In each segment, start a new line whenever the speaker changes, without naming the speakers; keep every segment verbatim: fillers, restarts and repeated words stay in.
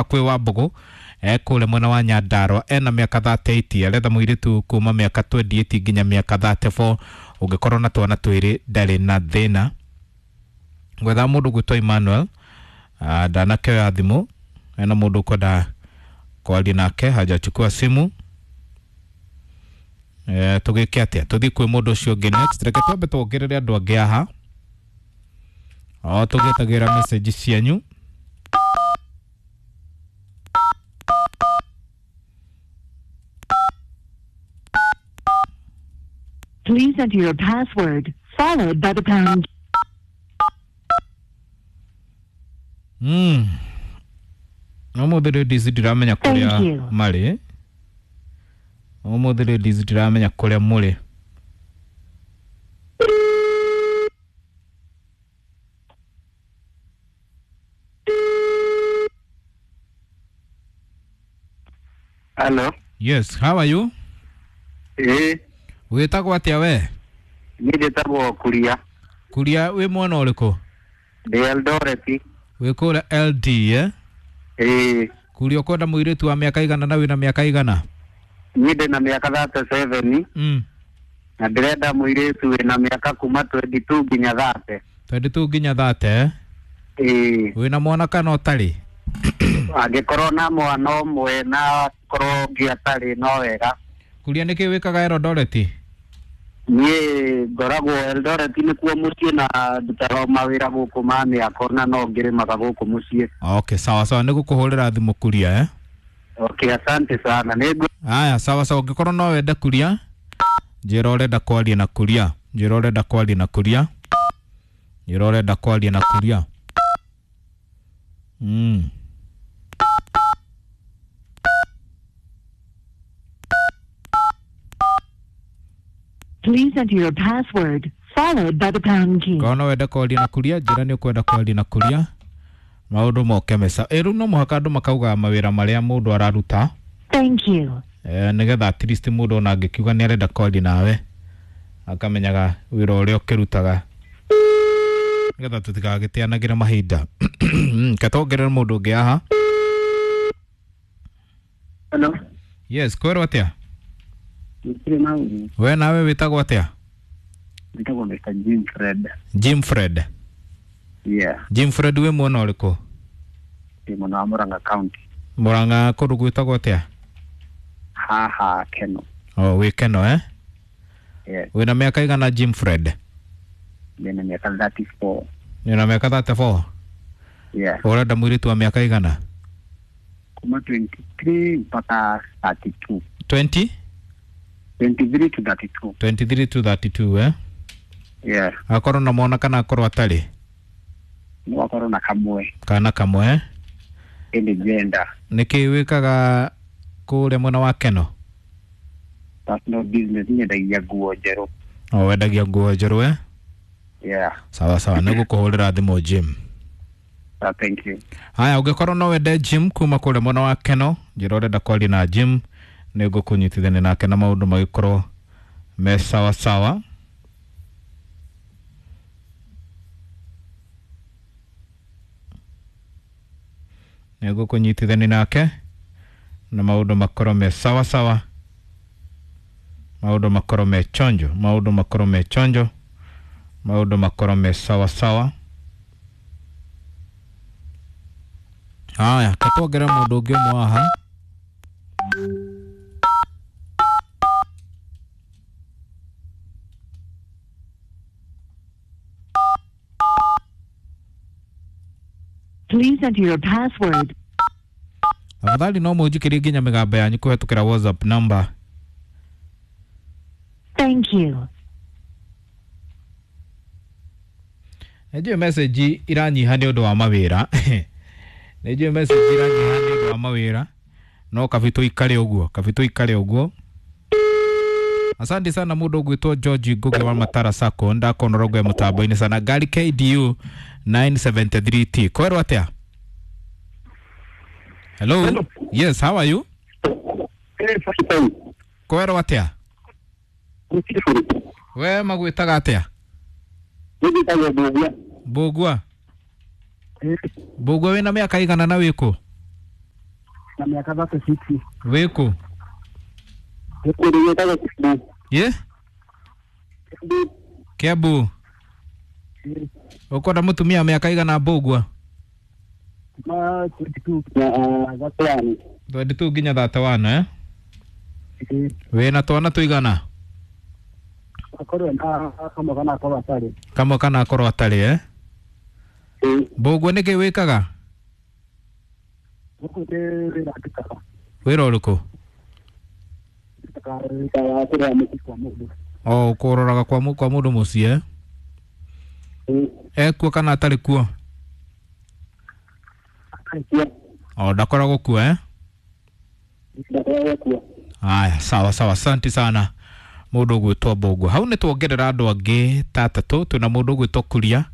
Kwĩ Wambugu ekũrĩa mwena wa Nyandarua, ena mĩaka thirty-eight, aretha mũirĩtu kuma mĩaka twenty-eight nginya mĩaka thirty-four. Ũngĩkorwo na twana twĩrĩ ndarĩ na thĩna. Gwetha mũndũ gwĩtwo Emmanuel, ah, ndanakĩoya thimũ, ena mũndũ ũkwenda kwaria nake, hajachukua simu. Eh, tũgĩke atĩa? Tũthiĩ kwĩ mũndũ ũcio ũngĩ next. Reke twambe tuongerere andũ angĩ haha o tũgĩetagĩra message cianyu.
Please enter your password, followed by the pound.
Mm. Ũmũthĩ ladies ndiramenya kũrĩa
Thank you.
marĩ. Ũmũthĩ ladies ndiramenya kũrĩa mũrĩ.
Hello.
Yes, how are you?
Ĩĩ.
Wĩtagwo atĩa we?
Niĩ njĩtagwo Kuria.
Kuria, wĩ mwena ũrĩkũ?
Ndĩ Eldoret.
Wĩ kũrĩa L D, eh?
Ĩĩ.
Kuria, ũkwenda mũirĩtu wa mĩaka igana na wĩna mĩaka igana?
Niĩ ndĩ na mĩaka thirty-seven
Mm.
na ndĩrenda mũirĩtu wĩna mĩaka kuma twenty-two nginya thirty.
twenty-two nginya thirty, eh?
Ĩĩ.
Wĩna mwana kana ũtarĩ?
Angĩkorwo na mwana ũmwe na korwo ũngĩ atarĩ no wega.
Kuria, nĩkĩ wĩkaga Eldoret?
Niĩ ngoragwo Eldoret nĩkuo mũciĩ na ndutaga mawĩra gũkũ ma mĩako na no ngĩrĩmaga gũkũ mũciĩ.
Okay, sawa sawa, nĩgũkũhũrĩra thimũ Kuria, eh?
Okay, asante sana. Nĩ
Aya, sawa sawa. Ũngĩkorwo no wende Kuria, njĩra ũrenda kwaria na Kuria, njĩra ũrenda kwaria na Kuria, njĩra ũrenda kwaria na Kuria. Mm.
Please enter your password, followed by the pound key.
Korwo no wende kwaria na Kuria, njĩra nĩ ũkwenda kwaria na Kuria, maũndũ moke mesa. Ĩ rĩu no mũhaka andũ makaugaga mawĩra marĩa mũndũ araruta,
Thank you.
eh, nĩgetha at least mũndũ ona angĩkiuga nĩ arenda kwaria nawe akamenyaga wĩra ũrĩa ũkĩrutaga, nĩgetha tũtigagĩteanagĩre mahinda. Ke tuongerere mũndũ ũngĩ haha.
Hello.
Yes, kwĩrwo atĩa?
Gũtirĩ maũndũ.
We nawe wĩtagwo atĩa?
Njĩtagwo Mister Jim Fred.
Jim Fred.
Yeah.
Jim Fred, wĩ mwena ũrĩkũ?
Ndĩ mwena wa Murang'a County.
Murang'a kũndũ gwĩtagwo atĩa?
Haha Keno.
O wĩ Keno, eh?
Yes.
Wĩna mĩaka igana, Jim Fred?
Ndĩna mĩaka thirty-four.
Wĩna mĩaka thirty-four?
Yeah.
Ũrenda mũirĩtu wa mĩaka igana?
Kuma twenty-three mpaka thirty-two.
twenty?
twenty-three to thirty-two.
twenty-three to thirty-two, eh?
Yeah.
Akorwo na mwana kana akorwo atarĩ?
No akorwo na kamwe.
Kana kamwe, eh?
Ĩndĩ gender.
Nĩkĩ wĩkaga kũrĩa mwena wa Keno?
Personal business, nyendagia nguo njerũ.
O wendagia nguo njerũ, eh?
Yeah.
Sawa sawa, nĩgũkũhũrĩra thimũ, Jim.
Uh, thank you.
Haya, ũngĩkorwo no wende Jim kuma kũrĩa mwena wa Keno, njĩra ũrenda kwaria na Jim, nĩngũkũnyitithania nake na maũndũ magĩkorwo me sawa sawa. Nĩngũkũnyitithania nake na maũndũ makorwo me sawa sawa, maũndũ makorwo me chonjo, maũndũ makorwo me chonjo, maũndũ makorwo me sawa sawa. Haya, katwongerera mũndũ ũngĩ ũmwe haha.
Please enter your password.
Afadhali no mũnjikĩrie nginya mĩgambo yanyu kũhetũkĩra WhatsApp number.
Thank you.
Nĩnjũĩ message iranyiha nĩ ũndũ wa mawĩra, nĩnjũĩ message iranyiha nĩ ũndũ wa mawĩra, no kabi tũikare ũguo, kabi tũikare ũguo. Asante sana mũndũ ũgwĩtwo George Ngugi wa Matara Sacco, ndakona rogo ya mũtambo-inĩ sana. Ngari K D U nine seven three T, kwerwo atĩa? Hello.
Hello.
Yes, how are you?
Eh, fine.
Kwerwo atĩa? We magwĩtaga atĩa?
Njĩtagwo Mbũgua.
Mbũgua. Mbũgua, wĩna mĩaka igana na wĩkũ?
Na mĩaka thate six.
Wĩkũ?
Kũndũ gwĩtagwo Kiambu.
Ye? Kiambu. Ũkwenda mũtumia wa mĩaka igana Mbũgua?
Ma twenty two na thate one.
twenty two nginya thate one eh? Wĩna twana tũigana?
Akorwo na kamwe kana akorwo atarĩ.
Kamwe kana akorwo atarĩ eh? Mbũgua nĩkĩ wĩkaga?
Gũkũ nĩ wĩra ndutaga.
Wĩra ũrĩkũ?
Ndutaga wĩra wa kũrora mũciĩ kwa mũndũ.
O kũroraga kwa kwa mũndũ mũciĩ eh? Ekuo kana atarĩ kuo?
Atarĩ kuo.
O ndakoragwo kuo eh?
Ndakoragwo kuo.
Aya, sawa sawa, asante sana mũndũ ũgwĩtwo Mbũgua. Hau nĩ tuongerera andũ angĩ ta atatũ. Twĩna mũndũ ũgwĩtwo Kuria.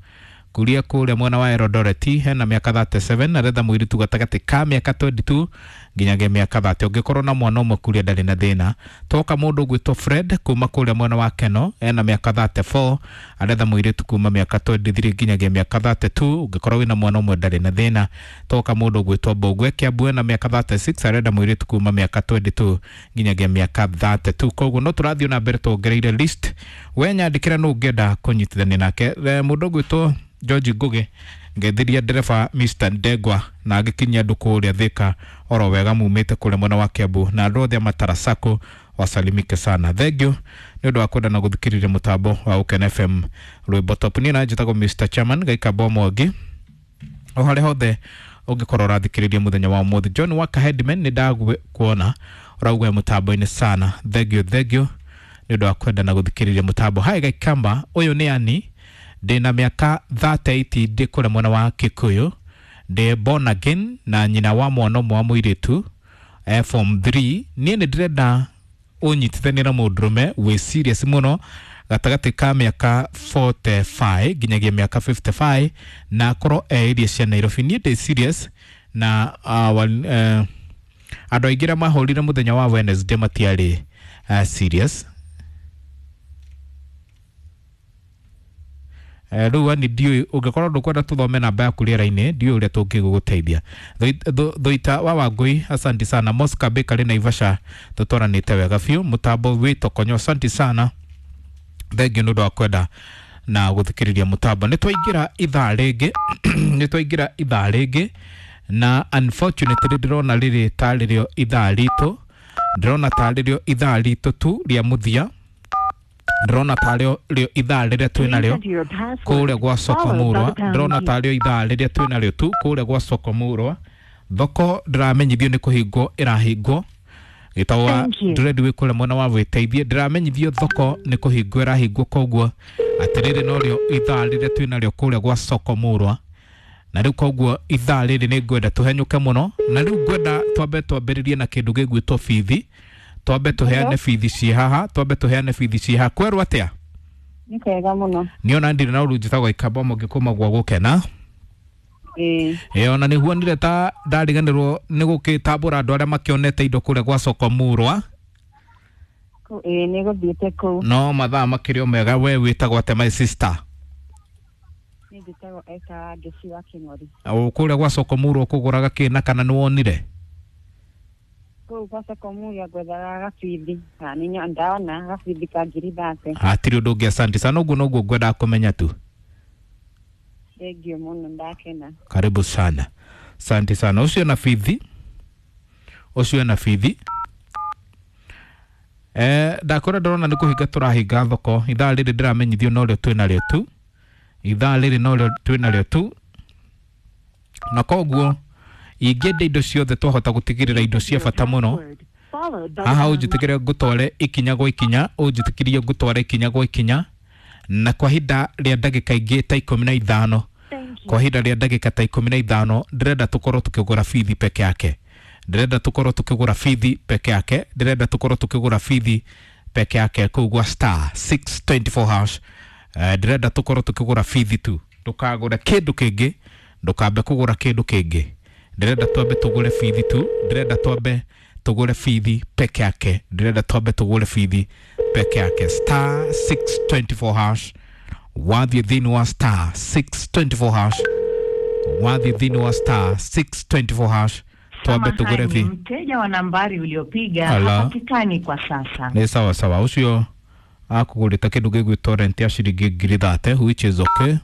Kuria kũrĩa mwena wa Eldoret hena mĩaka thirty seven aretha mũirĩtu gatagatĩ ka mĩaka twenty two nginyagia mĩaka thirty. Ũngĩkorwo na mwana ũmwe Kuria ndarĩ na thĩna. Twoka mũndũ ũgwĩtwo Fred kuma kũrĩa mwena wa Keno ena mĩaka thirty four aretha mũirĩtu kuma mĩaka twenty three nginyagia mĩaka thirty two. Ũngĩkorwo wĩna mwana ũmwe ndarĩ na thĩna. Twoka mũndũ ũgwĩtwo Mbũgua Kiambu ena mĩaka thirty six arenda mũirĩtu kuma mĩaka twenty two nginyagia mĩaka thirty two. Koguo no tũrathiĩ na mbere tuongereire list. We nyandĩkĩra nũ ũngĩenda kũnyitithania nake. Mũndũ ũgwĩtwo George Ngugi ngethiria ndereba Mister Ndegwa na agĩkinyia andũ kũrĩa Thika oro wega mumĩte kũrĩa mwena wa Kiambu na andũ othe a Matarasako wasalimike sana. Thank you nĩ ũndũ wa kwenda na gũthikĩrĩria mũtambo wa Ũkena F M rwĩmbo top. Niĩ na njĩtagwo Mister Chairman Gaikamba Mwangi o harĩa hothe ũngĩkorwo ũrathikĩrĩria mũthenya wa ũmũthĩ. John Walker Headman nĩ ndakuona ũrauga mũtambo-inĩ sana. Thank you, thank you nĩ ũndũ wa kwenda na gũthikĩrĩria mũtambo. Hi Gaikamba, ũyũ nĩ ani ndĩna mĩaka thirty eight ndĩ kũrĩa mwena wa Kikuyu, ndĩ born again na nyina wa mwana ũmwe wa mũirĩtu eh, form three. Niĩ nĩ ndĩrenda ũnyitithanie na mũndũrũme wĩ serious mũno gatagatĩ ka mĩaka forty five nginyagia mĩaka fifty five na akorwo e area cia Nairobi. Niĩ ndĩ serious na uh, wal, uh, andũ aingĩ arĩa mahũrire mũthenya wa Wednesday matiarĩ uh, serious. Rĩu ani ndiũĩ ũngĩkorwo ndũkwenda tũthome namba yaku rĩera-inĩ ndiũĩ ũrĩa tũngĩgũgũteithia. Thũita wa Wangũi asante sana. Mosca Bakery Naivasha tũtwaranĩte wega biũ. Mũtambo wĩ Tokonyo asante sana. Thank you nĩ ũndũ wa kwenda na gũthikĩrĩria mũtambo. Nĩ twaingĩra ithaa rĩngĩ nĩ twaingĩra ithaa rĩngĩ na unfortunately ndĩrona rĩrĩ ta rĩrĩo ithaa ritũ, ndĩrona ta rĩrĩo ithaa ritũ tu rĩa mũthia, ndĩrona ta rĩo ithaa rĩrĩa twĩ narĩo kũrĩa gwa soko Mũrwa, ndĩrona ta rĩo ithaa rĩrĩa twĩ narĩo tu kũrĩa gwa soko Mũrwa. Thoko ndĩramenyithio nĩ kũhingwo ĩrahingwo gĩtagwo ndĩrendi wĩ kũrĩa mwena wa wĩteithie, ndĩramenyithio thoko nĩ kũhingwo ĩrahingwo, koguo atĩrĩrĩ norĩo ithaa rĩrĩa twĩ narĩo kũrĩa gwa soko Mũrwa. Na rĩu koguo ithaa rĩrĩ nĩ ngwenda tũhenyũke mũno, na rĩu ngwenda twambe twambĩrĩrie na kĩndũ gĩgwĩtwo bithi. Twambe tũheane bithi ciĩ haha, twambe tũheane bithi ciĩ haha. Kwerwo atĩa?
Nĩ kwega mũno.
Niĩ ona ndirĩ na ũru, njĩtagwo Ikamba Mwangi kuma gwa Gũkena.
Ĩĩ.
Ĩĩ ona nĩhuanire ta ndariganĩrwo nĩ gũgĩtambũra andũ arĩa makĩonete indo kũrĩa gwa soko Mũrwa.
Ĩĩ nĩ gũthiĩte kũu.
No mathaa makĩrĩ o mega. We wĩtagwo atĩa my sister?
Niĩ njĩtagwo Esther Ngĩci wa Kĩng'ori.
O kũrĩa gwa soko Mũrwa ũkũgũraga kĩ na kana nĩ wonire?
Kũu gwa soko Mũrwa ngwethaga gabithi na nĩ ndona gabithi ka ngiri thate.
Hatirĩ ũndũ ũngĩ, asante sana. Ũguo noguo ngwendaga kũmenya tu.
Thengiũ mũno, ndakena.
Karibu sana, asante sana. Ũcio na bithi, ũcio na bithi. Eh, ndakora ndĩrona nĩ kũhinga tũrahinga thoko. Ithaa rĩrĩ ndĩramenyithio norĩo twĩ narĩo tu, ithaa rĩrĩ norĩo twĩ narĩo tu, na koguo ingĩenda indo ciothe twahota gũtigĩrĩra indo cia bata mũno. Haha ũnjĩtĩkĩre ngũtware ikinya gwa ikinya, ũnjĩtĩkĩrie ngũtware ikinya gwa ikinya, na kwa ihinda rĩa ndagĩka ingĩ ta ikũmi na ithano, kwa ihinda rĩa ndagĩka ta ikũmi na ithano ndĩrenda tũkorwo tũkĩgũra bithi peke yake, ndĩrenda tũkorwo tũkĩgũra bithi peke yake, ndĩrenda tũkorwo tũkĩgũra bithi peke yake kũu gwa star six twenty four hash. Ndĩrenda tũkorwo tũkĩgũra bithi tu, ndũkagũre kĩndũ kĩngĩ, ndũkambe kũgũra kĩndũ kĩngĩ. Ndĩrenda twambe tũgũre bithi tu, ndĩrenda twambe tũgũre bithi peke yake, ndĩrenda twambe tũgũre bithi peke yake. Star six twenty four hash, wathiĩ thĩinĩ wa star six twenty four hash, wathiĩ thĩinĩ wa star six twenty four hash, Twambe tugure
Samahani,
fi
mteja wa nambari uliopiga
Ala.
hapatikani kwa sasa.
Nĩ sawa sawa, ũcio akũgũrĩte kĩndũ gĩgwĩtwo rent ya ciringi ngiri thate, which is okay.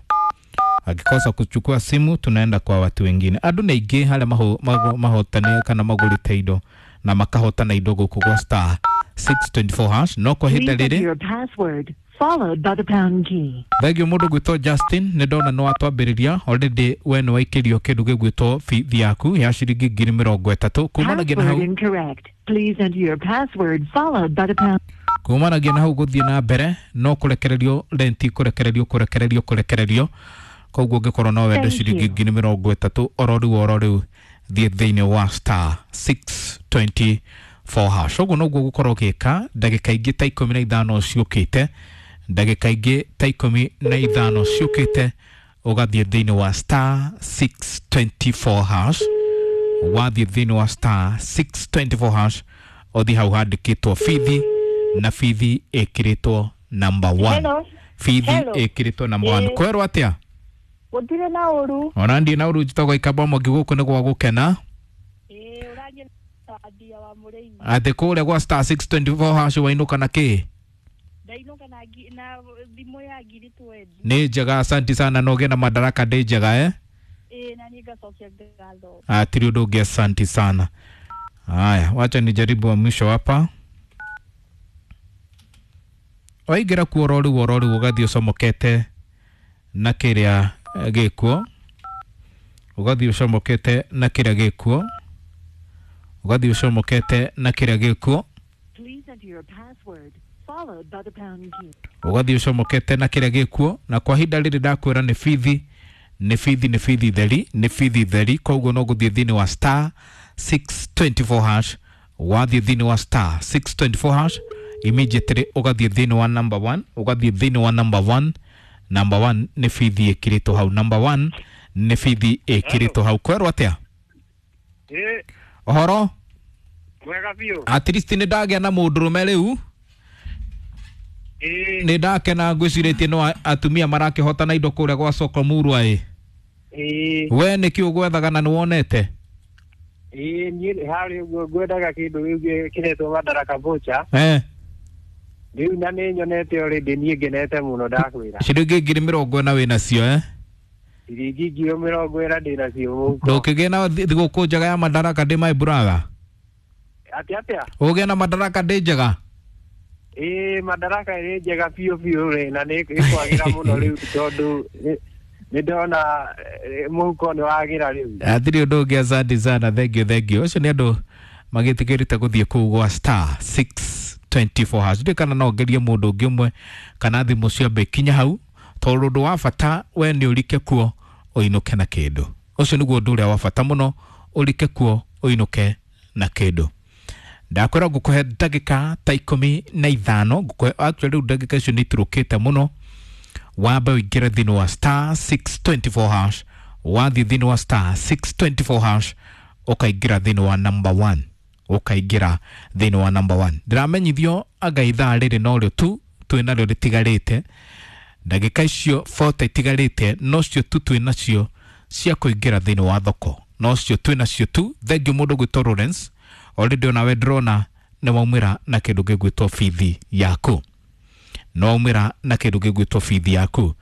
Akikosa kuchukua simu tunaenda kwa watu wengine. Andũ nĩ aingĩ harĩa maho- mago- mahotane kana magũrĩte indo na makahotana indo gũkũ gwa star six twenty four hash, no kwa
Please
ihinda
enter
rĩrĩ
your password followed by the pound key.
Thengio mũndũ gwĩtwo Justin, nĩ ndona nĩ watwambĩrĩria already, we nĩ waikĩrio kĩndũ gĩgwĩtwo bithi yaku ya ciringi ngiri mĩrongo ĩtatũ kumanagia na
Password
hau
incorrect. Please enter your password followed by the pound.
Kumanagia na hau gũthiĩ na mbere no kũrekererio renti, kũrekererio, kũrekererio, kũrekererio. Koguo ũngĩkorwo no wende
Thank
ciringi
you.
ngiri mĩrongo ĩtatũ oro rĩu oro rĩu, thiĩ thĩinĩ wa star six twenty four hash. Ũguo noguo gũkorwo ũgĩka ndagĩka ingĩ ta ikũmi na ithano ciũkĩte, ndagĩka ingĩ ta ikũmi na ithano ciũkĩte, ũgathiĩ thĩinĩ wa star six twenty four hash. Wathiĩ thĩinĩ wa star six twenty four hash, ũthiĩ hau handĩkĩtwo bithi, na bithi ĩkĩrĩtwo number one.
Hello.
Bithi
Hello.
ĩkĩrĩtwo number one.
Ĩĩ.
Kwerwo atĩa?
Gũtirĩ na ũru.
Ona ndiĩ na ũru, njĩtagwo Ikamba Mwangi, gũkũ nĩ gwa gũkena.
Ĩĩ, ũranjĩ na wa mũrĩmi.
Atĩ kũrĩa gwa star six twenty four hash wainũka na kĩ?
Ndainũka na ngi- na thimũ ya ngiri twendi.
Nĩ njega, asanti sana, na ũgĩe na madaraka ndĩ njega eh?
Ĩĩ, na niĩ ngacokia ngatho.
Atiri ũndũ ũngĩ, asanti sana. Haya, wacha nijaribu wa mwisho hapa. Waingĩra kuo oro rĩu oro rĩu, ũgathiĩ ũcomokete na kĩrĩa eh, gĩkuo, ũgathiĩ ũcomokete na kĩrĩa gĩkuo, ũgathiĩ ũcomokete na kĩrĩa gĩkuo.
Please enter your password followed by the pound key.
Ũgathiĩ ũcomokete na kĩrĩa gĩkuo, na kwa ihinda rĩrĩ ndakwĩra nĩ bithi, nĩ bithi, nĩ bithi theri, nĩ bithi theri. Koguo no gũthiĩ thĩinĩ wa star six twenty four hash. Wathiĩ thĩinĩ wa star six twenty four hash, immediately ũgathiĩ thĩinĩ wa number one, ũgathiĩ thĩinĩ wa number one. Number one nĩ bithi ĩkĩrĩtwo hau, number one nĩ bithi ĩkĩrĩtwo hau. Kwerwo atĩa?
Ĩĩ.
Ũhoro?
Mwega biũ.
At least nĩ ndagĩa na mũndũrũme rĩu.
Ĩĩ.
Nĩ ndakena, ngwĩcirĩtie no a- atumia marakĩhotana indo kũrĩa gwa soko murwa ĩ.
Ĩĩ.
We nĩkĩ ũgwethaga na nĩwonete?
Ĩĩ, niĩ harĩ ũguo ngwendaga kĩndũ gĩu gĩ- kĩretwo Madaraka Voucher.
Eh.
Rĩu na nĩ nyonete already, niĩ ngenete mũno ndakwĩra.
Ciringi ngiri mĩrongo ĩna wĩ nacio eh?
Ciringi ngiri mĩrongo ĩna ndĩ nacio mũhuko.
Ndũkĩgĩe na thi- thigũkũ njega ya Madaraka ndĩ my brother.
Atĩ atĩa?
Ũgĩe na Madaraka ndĩ njega.
Ĩĩ, Madaraka nĩ njega biũ biũ rĩ, na nĩ ĩkwagĩra mũno rĩu tondũ nĩ- nĩ ndona eh, mũhuko nĩ wagĩra rĩu.
Hatirĩ ũndũ ũngĩ, asante sana, thank you, thank you. Ũcio nĩ andũ magĩtĩkĩrĩte gũthiĩ kũu gwa star six twenty four hash. Ndiũĩ kana no ngerie mũndũ ũngĩ ũmwe kana thimũ ciambe ikinye hau, tondũ ũndũ wa bata we nĩ ũrike kuo ũinũke na kĩndũ. Ũcio nĩguo ũndũ ũrĩa wa bata mũno, ũrike kuo ũinũke na kĩndũ. Ndakwĩra ngũkũhe ndagĩka ta ikũmi na ithano, ngũkũhe actually rĩu ndagĩka icio nĩ iturũkĩte mũno. Wambe ũingĩre thĩinĩ wa star six twenty four hash. Wathiĩ thĩinĩ wa star six twenty four hash, ũkaingĩra thĩinĩ wa number one, ũkaingĩra thĩinĩ wa number one. Ndĩramenyithio anga ithaa rĩrĩ norĩo tu twĩ narĩo rĩtigarĩte, ndagĩka icio forty itigarĩte nocio tu twĩ nacio cia kũingĩra thĩinĩ wa thoko, nocio twĩ nacio tu. Thengiũ mũndũ gwĩtwo Lawrence, already onawe ndĩrona nĩ waumĩra na kĩndũ gĩgwĩtwo bithi yaku, no waumĩra na kĩndũ gĩgwĩtwo bithi yaku.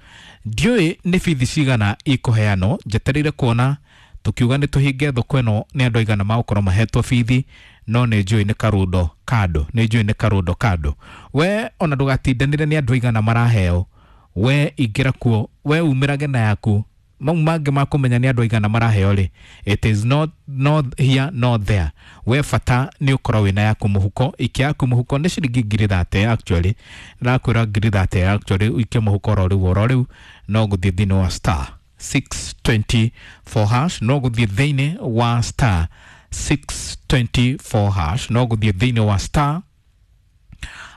Ndiũĩ nĩ bithi cigana ikũheanwo, njetereire kuona tũkiuga nĩ tũhinge thoko ĩno nĩ andũ aigana magũkorwo mahetwo bithi, no nĩ njũĩ nĩ karundo kando, nĩ njũĩ nĩ karundo kando. We ona ndũgatindanĩre nĩ andũ aigana maraheo, we ingĩra kuo, we umĩrage na yaku. Mau mangĩ ma kũmenya nĩ andũ aigana maraheo rĩ, it is not, not here not there. We bata nĩ ũkorwo wĩna yaku mũhuko. Ikia yaku mũhuko nĩ ciringi ngiri thate, actually ndakwĩra ngiri thate actually, ũikie mũhuko oro rĩu oro rĩu. No gũthiĩ thĩinĩ wa star six twenty four hash, no gũthiĩ thĩinĩ wa star six twenty four hash, no gũthiĩ thĩinĩ wa star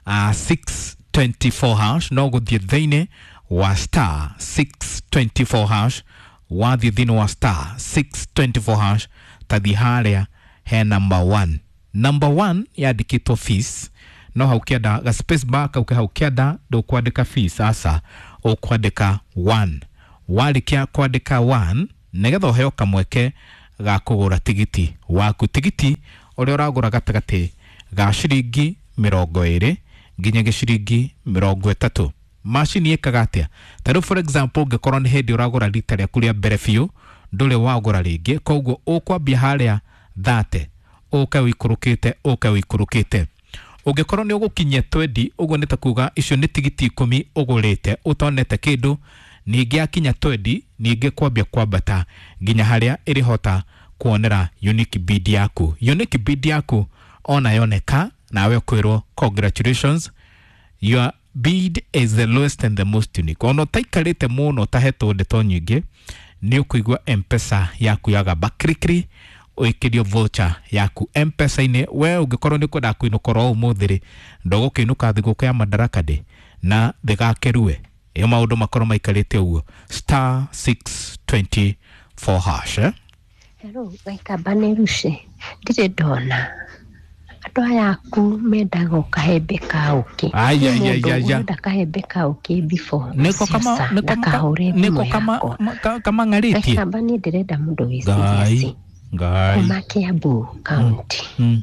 uh, six twenty four hash, no gũthiĩ thĩinĩ wa star six twenty four hash. Wathiĩ thĩinĩ wa star six twenty four hash, tathi harĩa he number one. Number one yandĩkĩtwo fees, no hau kĩanda ga space bar kau ke hau kĩanda, ndũkwandĩka fees, aca, ũkwandĩka one. Warĩkia kwandĩka one, nĩgetha ũheo kamweke ga kũgũra tigiti waku. Tigiti ũrĩa ũragũra gatagatĩ ga ciringi mĩrongo ĩrĩ nginya ciringi mĩrongo ĩtatũ. Macini ĩkaga atĩa? Ta rĩu for example ũngĩkorwo nĩ hĩndĩ ũragũra rita rĩaku rĩa mbere biũ, ndũrĩ wagũra rĩngĩ, koguo ũkwambia harĩa thate ũke ũikũrũkĩte ũke ũikũrũkĩte. Ũngĩkorwo nĩ ũgũkinyia twendi, ũguo nĩ ta kuga icio nĩ tigiti ikũmi ũgũrĩte ũtonete kĩndũ, ningĩ akinya twendi ningĩ kwambia kwambata nginya harĩa ĩrĩhota kuonera unique bid yaku. Unique bid yaku ona yoneka nawe ũkwĩrwo congratulations, your bid is the lowest and the most unique. Ona ũtaikarĩte mũno ũtahetwo ndeto nyingĩ, nĩ ũkũigua M-Pesa yaku yagamba kirikiri, ũikĩrio voucher yaku M-Pesa-inĩ. We ũngĩkorwo nĩ ũkwenda kũinũka oro ũmũthĩ rĩ, ndũgũkĩinũka thigũkũ ya Madaraka Day na ndĩgakerue. Ĩyo maũndũ makorwo maikarĩte ũguo. Star six twenty four hash, eh?
Hello, Waikamba nĩ Ruce. Ndirĩ ndona andũ aya aku mendaga kahembe ka ũkĩ.
Ai, ai, ai, ai, ai.
Ũrenda kahembe ka ũkĩ before
Nĩko kama
ũcio,
nĩko maka-
ndakahũre
nĩko
thimũ
kama
yakwa.
ma- ka- kamang'arĩtie.
Waikamba niĩ ndĩrenda mũndũ wĩ
Ngai
serious
Ngai.
kuma Kiambu County.
Mm.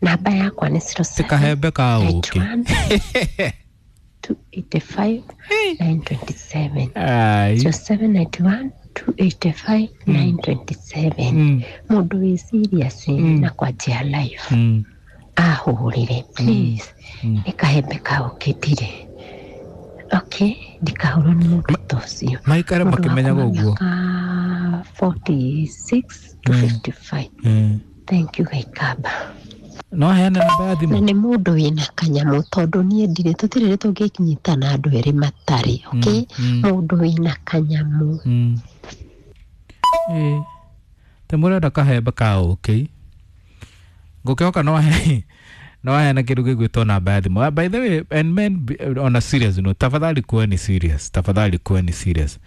Namba yakwa nĩ zero
Ti
seven
kahembe ka ũkĩ.
ninety one two eighty five nine twenty seven.
Ai.
Zero seven ninety one two eighty five nine twenty seven.
Mm.
Mũndũ wĩ serious
Mm.
na kwanjia life
Mm.
ahũrĩre please.
Mm.
Nĩ kahembe ka ũkĩ ndirĩ. Okay, ndikahũrwo nĩ mũndũ ta ũcio.
Maikare
Mũndũ wa
makĩmenyaga
kuma
ũguo.
mĩaka forty six to
Mm.
fifty five.
Mm.
Thank you Gaikamba.
No aheane namba ya
Na
thimũ.
nĩ mũndũ wĩna kanyamũ tondũ niĩ ndirĩ tũtirĩ rĩ tũngĩnyitana andũ erĩ matarĩ okay.
Mm.
Mũndũ wĩna kanyamũ.
Mm. Ĩĩ. Te mũrenda kahembe ka ũkĩ. Ngũkĩhoka no ahe no aheane kĩndũ gĩgwĩtwo namba ya thimũ. Ah, by the way, and men be- on a serious note, tafadhali kuweni serious. Tafadhali kuweni serious.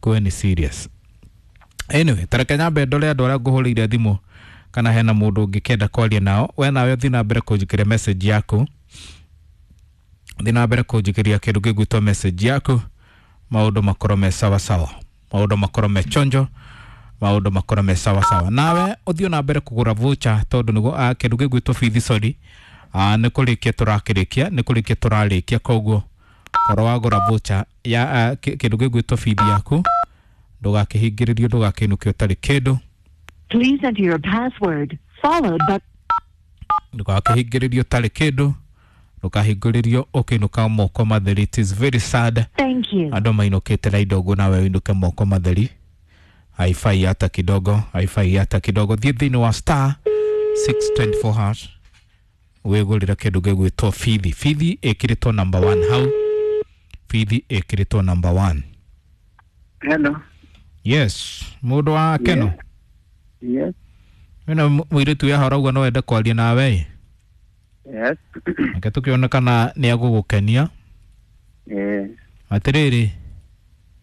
Kuweni serious. Anyway, tareke nyambe ndore andũ arĩa ngũhũrĩire thimũ kana hena mũndũ ũngĩkĩenda kwaria nao. We nawe thiĩ na mbere kũnjĩkĩria message yaku. Thiĩ na mbere kũnjĩkĩria kĩndũ gĩgwĩtwo message yaku, maũndũ makorwo me sawa sawa, maũndũ makorwo me chonjo, maũndũ makorwo me sawa sawa. Nawe ũthiĩ na mbere kũgũra voucher tondũ nĩguo ah, kĩndũ gĩgwĩtwo bithi, sorry, ah, nĩ kũrĩkia tũrakĩrĩkia, nĩ kũrĩkia tũrarĩkia, koguo korwo wagũra voucher ya ah, kĩ- kĩndũ gĩgwĩtwo bithi yaku ndũgakĩhingĩrĩrio, ndũgakĩinũke ũtarĩ kĩndũ.
Please enter your password, followed by
Ndũgakĩhingĩrĩrio ũtarĩ kĩndũ, ndũkahingũrĩrio ũkĩinũka moko matheri. It is very sad.
Thank you.
Andũ mainũkĩte na indo ũguo nawe ũinũke moko matheri, haifai hata kidogo, haifai hata kidogo. Thiĩ thĩinĩ wa star six twenty four hash wĩgũrĩre kĩndũ gĩgwĩtwo bithi. Bithi ĩkĩrĩtwo number one hau, bithi ĩkĩrĩtwo number one.
Hello.
Yes, mũndũ wa Keno.
Yes.
Wĩna mũirĩtu wĩ haha ũrauga no ende kwaria nawe.
Yes.
Reke tũkĩone kana nĩ egũgũkenia.
Eh.
Atĩrĩrĩ,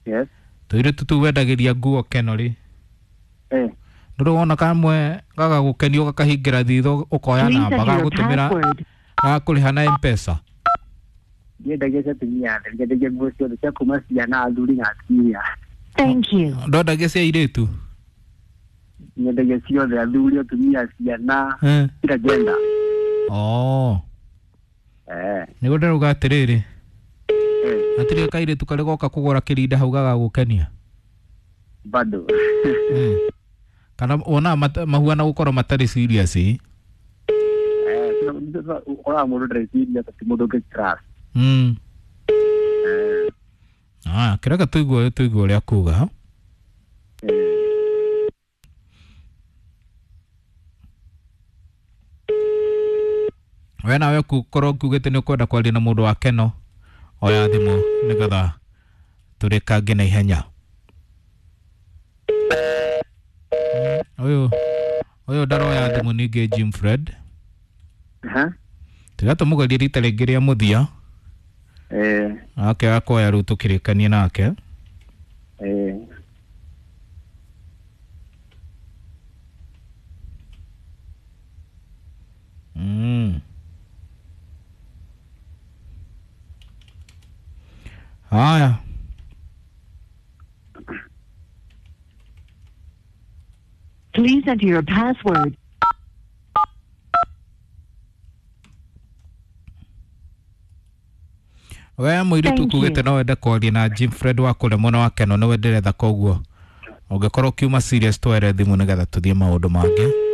Yes.
tũirĩtu tũu wendagĩria nguo Keno rĩ,
Eh.
ndũrĩ wona kamwe gagagũkenia ũgakahingĩra thitho ũkoya
Please
namba
enter your
gagũtũmĩra
password.
gagakũrĩha na M-Pesa?
Ndiendagia cia atumia, ndiendagia nguo ciothe cia kuma ciana, athuri na atumia.
Thank you.
Ndwendagia cia airĩtu?
Nyendagia ciothe, athuri, atumia, ciana,
Eh.
kila gender.
Oh.
Eh.
Nĩguo ndĩrauga atĩrĩrĩ,
Eh.
hatirĩ kairĩtu karĩ goka kũgũra kĩrinda hau gagagũkenia?
Bado.
Eh. Kana wonaga mat- mahuana gũkorwo matarĩ serious ĩ?
Eh, ũkoraga mũndũ ndarĩ serious, ti mũndũ ũngĩ trust.
Mm.
Eh.
Ah, kĩreka tũigue tũigue ũrĩa kuga.
Eh.
We nawe korwo kiugĩte nĩ ũkwenda kwaria na mũndũ wa Keno, oya thimũ nĩgetha tũrĩkange na ihenya. Ũyũ ũyũ ndaroya thimũ ningĩ Jim Fred.
Ha?
Tiga tũmũgerie rita rĩngĩ rĩa mũthia.
Eh.
Ake akoya rĩu tũkĩrĩkanie nake.
Eh.
Mm. Haya.
Please enter your password.
We mũirĩtu
Thank you.
ukugĩte no wende kwaria na Jim Fred wa kũrĩa mwena wa Keno nĩwe ndĩretha, koguo ũngĩkorwo ũkiuma serious twere thimũ nĩgetha tũthiĩ maũndũ mangĩ.